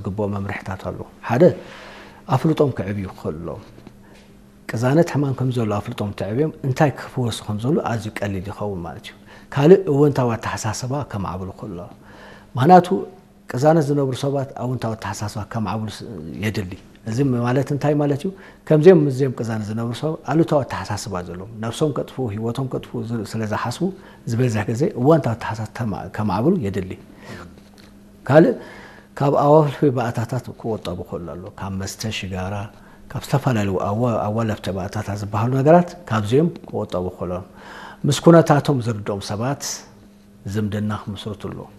ዝግብኦ መምርሕታት ኣሎ። ሓደ ኣፍልጦም ክዕብዩ ክኽእሉ ኣለዎም። ቅዛነት ሕማም ከም ዘሎ ኣፍልጦም ተዕብዮም እንታይ ክፍወሱ ከም ዘሎ ኣዝዩ ቀሊል ይኸውን ማለት እዩ። ካልእ እወንታዊ ኣተሓሳስባ ከማዕብሉ ክኽእሉ ኣለዎም። ምኽንያቱ ቅዛነት ዝነብሩ ሰባት ኣወንታዊ ኣተሓሳስባ ከማዕብሉ ስ- የድሊ። እዚ ማለት እንታይ ማለት እዩ? ከምዚኦም ምስዚኦም ቅዛነት ዝነብሩ ሰባት ኣሉታዊ ኣተሓሳስባ ዘለዎም፣ ነብሶም ከጥፍኡ፣ ህይወቶም ከጥፍኡ ዝ- ስለ ዝሓስቡ ዝበዝሕ ግዜ እወንታዊ ኣተሓሳስባ ተማ- ከማዕብሉ የድሊ። ካልእ ካብ ኣዋልፊ ባእታታት ክቆጠቡ ክኽእሉ ኣለዎም። ካብ መስተ፣ ሽጋራ፣ ካብ ዝተፈላለዩ ኣዋ- ኣዋለፍቲ ባእታታት ዝበሃሉ ነገራት ካብዚኦም ክቆጠቡ ክኽእሉ ኣለዎም። ምስ ኩነታቶም ዝርድኦም ሰባት ዝምድና ክምስርቱ ኣለዎም።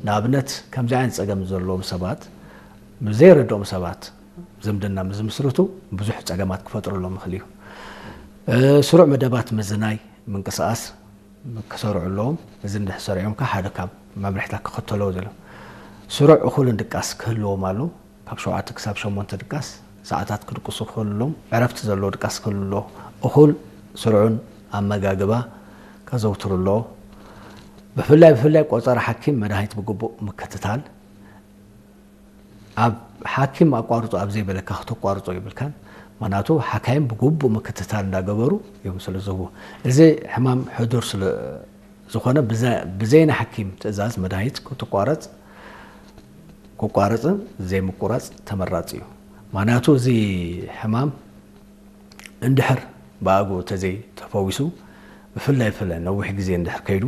ንኣብነት ከምዚ ዓይነት ፀገም ዘለዎም ሰባት ምስ ዘይረድኦም ሰባት ዝምድና ምስ ዝምስርቱ ብዙሕ ፀገማት ክፈጥሩሎም ይኽእል እዩ። እ፣ ስሩዕ መደባት ምዝናይ ምንቅስቃስ ክሰርዑ ኣለዎም። እዚ እንድሕር ሰሪዖም ከ ሓደ ካብ መምርሕታት ክኽተልዎ ዘሎ ስሩዕ እኹልን ድቃስ ክህልዎም ኣሎ። ካብ ሸውዓተ ክሳብ ሸሞንተ ድቃስ ሰዓታት ክድቅሱ ክኽእሉ ኣለዎም። ዕረፍቲ ዘለዎ ድቃስ ክህሉ ኣለዎ። እኹል ስሩዕን ኣመጋግባ ከዘውትሩ ኣለዎ። ብፍላይ ብፍላይ ቆፀራ ሓኪም መድሃኒት ብግቡእ ምክትታል። ኣብ ሓኪም ኣቋርፁ ኣብ ዘይበለካ ክተቋርፆ ይብልካን። ምኽንያቱ ሓካይም ብግቡእ ምክትታል እንዳገበሩ እዮም ስለ ዝህቡ። እዚ ሕማም ሕዱር ስለ ዝኾነ ብዘ- ብዘይ ናይ ሓኪም ትእዛዝ መድሃኒት ክትቋረፅ ክቋረፅን ዘይምቁራፅ ተመራፂ እዩ። ምኽንያቱ እዚ ሕማም እንድሕር ብኣግኡ ተዘይ ተፈዊሱ ብፍላይ ብፍላይ ነዊሕ ግዜ እንድሕር ከይዱ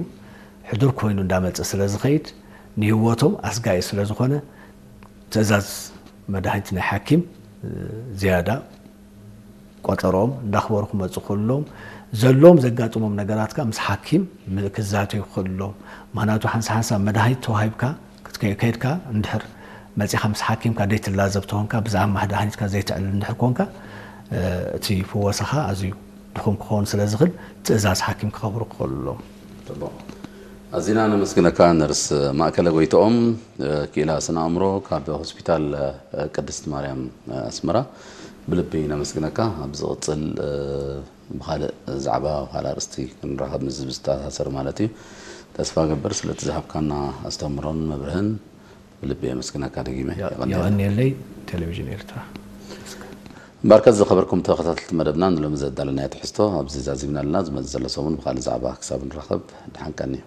ሕዱር ኮይኑ እንዳመፀ ስለ ዝኸይድ ንህይወቶም ኣስጋኢ ስለ ዝኾነ ትእዛዝ መድሃኒት ናይ ሓኪም ዝያዳ ቆፀሮኦም እንዳኽበሩ ክመፁ ክኽእሉ ኣለዎም። ዘለዎም ዘጋጥሞም ነገራት ከዓ ምስ ሓኪም ክዛተዩ ክኽእሉ ኣለዎም። ምኽንያቱ ሓንሳ ሓንሳ መድሃኒት ተዋሂብካ ክትከ- ከይድካ እንድሕር መፂኻ ምስ ሓኪምካ ዘይትላዘብ ተኾንካ ብዛዕባ መድሃኒትካ ዘይተዕልል እንድሕር ኮንካ እቲ ፍወሳኻ ኣዝዩ ድኹም ክኸውን ስለ ዝኽእል ትእዛዝ ሓኪም ክኸብሩ ክኽእሉ ኣለዎም። ጽቡቕ። ኣዚና ነመስግነካ ነርስ ማእከለ ጎይትኦም፣ ክኢላ ስነ ኣእምሮ ካብ ሆስፒታል ቅድስት ማርያም ኣስመራ። ብልቢ ነመስግነካ። ኣብ ዝቕጽል ብኻልእ ዛዕባ፣ ካልእ ኣርእስቲ ክንራኸብ፣ ምስ ህዝቢ ዝተኣሳሰር ማለት እዩ። ተስፋ ገብር ስለቲ ዝሃብካና ኣስተምህሮን መብርህን ብልቢ የመስግነካ ደጊመ። የቐንየለይ። የቐንየለይ። ቴሌቪዥን ኤርትራ። እምበኣርከስ ዝኸበርኩም ተኸታተልቲ መደብና፣ ንሎሚ ዘዳለናዮ ትሕዝቶ ኣብዚ ዛዚምና ኣለና። ዝመጽእ ዘሎ ሰሙን ብኻልእ ዛዕባ ክሳብ ንራኸብ፣ ደሓን ቀንዩ።